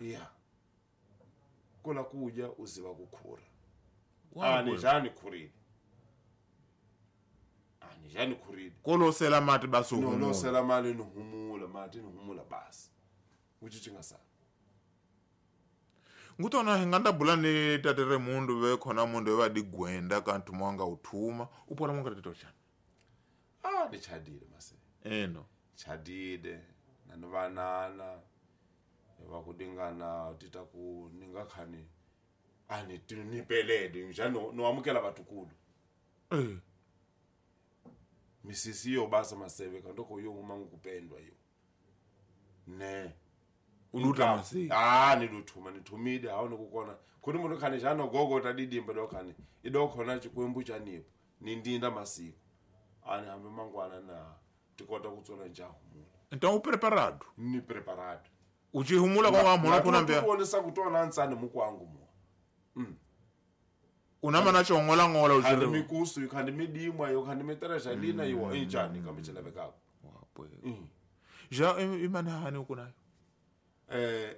Ya kula kudya uziva kukhura. Ani jani khurile. Ani jani khurile. Kolosela mati basi no losela mali ni humula mati ni humula basi. Uchichi sana. Ngutona hinganda bula ni tatere mundu ve khona mundu ve digwenda kantu mwanga uthuma upora mwanga titochana. Ah ni chadile mase. Eno chadile nanovanana vakudingana tita ku ninga khani ani tinipelede njano no amukela vatukulu. Misisi yo basa maseve kandoko yo umangu kupendwa yo. Ne uluta masi. Ah niluthuma nithumide hawo nikukona khoni munhu khani jano gogo tadidimba dokhani idokhona chikwembu chanipo nindinda masiku ani hambe mangwana na tikota kutsona njahumula. Então o preparado ni preparado uchihumula kwa mona kuna mbia kuonesa kutona ntsani mukwangu mo. Unama na chongola ngola uchiri mikusu ikhandi midimwa yo khandi miteresha lina yo injani kambe bekako wapwe. Ja imana hani ukunayo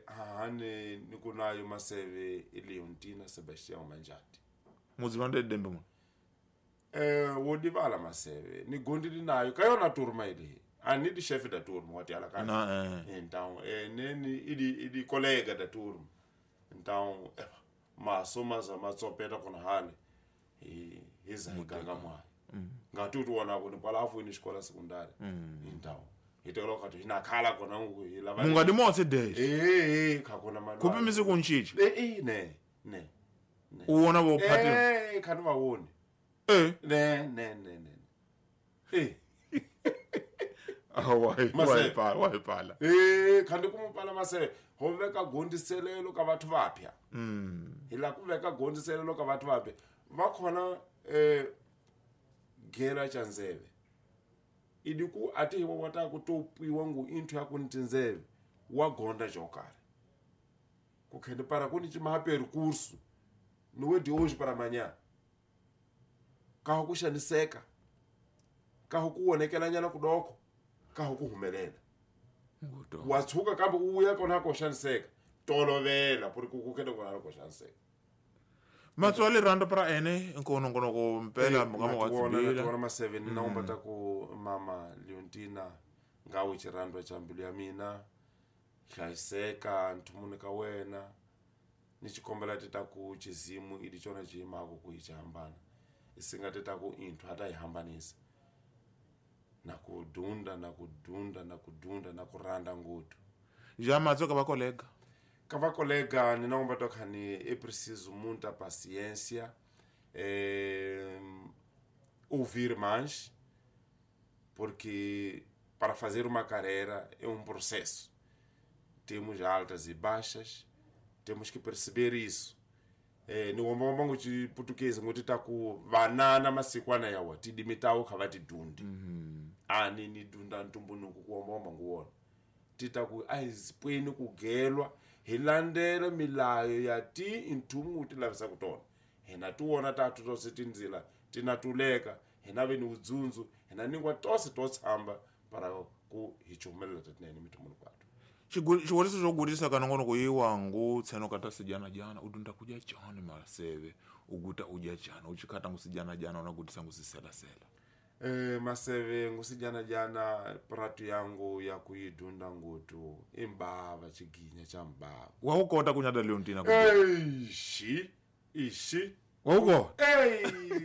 hani nikunayo maseve Leontina Sebastião Manjati muzivande dembe mo wodivala maseve ni gondili nayo kayona turma ile ani di chef da turma wati ala kana na então neni idi colega da turma então maso za matsopeta kona hale hiza ganga mwa ngatutu wana kuni palafu ni escola secundária então itelo kati inakhala kona ngilava mungadi motse days khakona mali kupi misi kunchichi ne ne uwona bo phati khani vawoni ne ne ne ne ah wai pala khandi kumupala maseve ho veka gondiselelo ka vathu vapya hila ku veka gondiselelo ka vathu vapya va khona gera chanzeve idiku ati wata kutopiwa ngu inthu ya kuntinzeve wa gonda jokare kukhende para kuni chimaha percurso no é de hoje para amanhã kaho kuxaniseka kaho kuwonekelanyana kudoko kaho kuhumelela watsuka kambe uya kona ko xaniseka tolovela porque kukhende kona ko xaniseka matswale rando para ene nkono ngono ko mpela mukama wa tsibila kona maseve ni naomba ta ku mama Leontina ngawe chirando cha mbilu ya mina hlayiseka nthumuni ka wena ni chikombela tita ku chizimu idi chona chimako ku ichihambana isinga tita ku inthu ata ihambanisa na kudunda na kudunda na kudunda na kuranda ngutu ja matsoka va colega ka colega ni naomba to khani é preciso muita paciência, ouvir mais, porque para fazer uma carreira é um processo. Temos altas e baixas, temos que perceber isso. Ni womba de português ngoti taku vanana masikwana yawa tidimitawo khavati dundi. Ani ni dunda ntumbunuku kuomba nguwona. Titaku aizipweni kugelwa hilandela milayo ya ti intumu tilavisa kutona hina tuwona tatu tose tindzila tinatuleka hina ve ni udzundzu hina ningwa tose totshamba para ku hi chumelela tatinene mitumunu kwatu xivuriso xo gudisa kana ngono ku yiwangu tseno kata sijana jana udunda kudya chani maseve uguta udya chani uchikhata ngusijana jana unagudisa ngusiselasela maseve ngusijana jana pratu yangu ya kuidunda ngutu imbava chiginya cha mbava waukota kunyada Leontina ishi wauko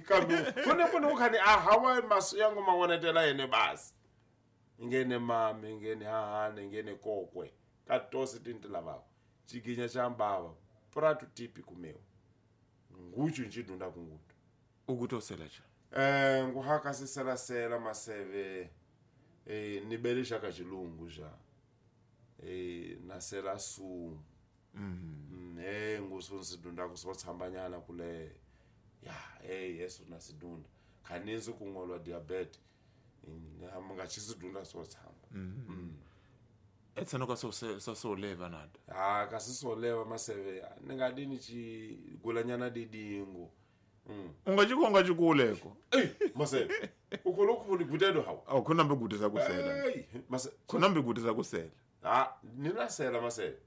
kambe kone kone ukhani ahawa maso yangu mawonetela yene basi ingene mame ingene hahane ingene kokwe katose tintilavako chiginya cha mbava pratu tipi kumeo nguchu nchidunda kungutu ukutosela cha nguhaka siselasela maseve nibelisha kachilungu ja nasela sumu ngusunsidunda kusotsambanyana kule ya yesu nasidunda khaninzi kungolwa diabetes ngachisidunda sotsamba etseno ka sosoleva nada ah kasisoleva maseve ningadini chigulanyana didingo ungachikonga chikuleko maseve ukholokhuli gutelo hawo awu khona mbigutisa kusela mase khona mbigutisa kusela ah ninasela maseve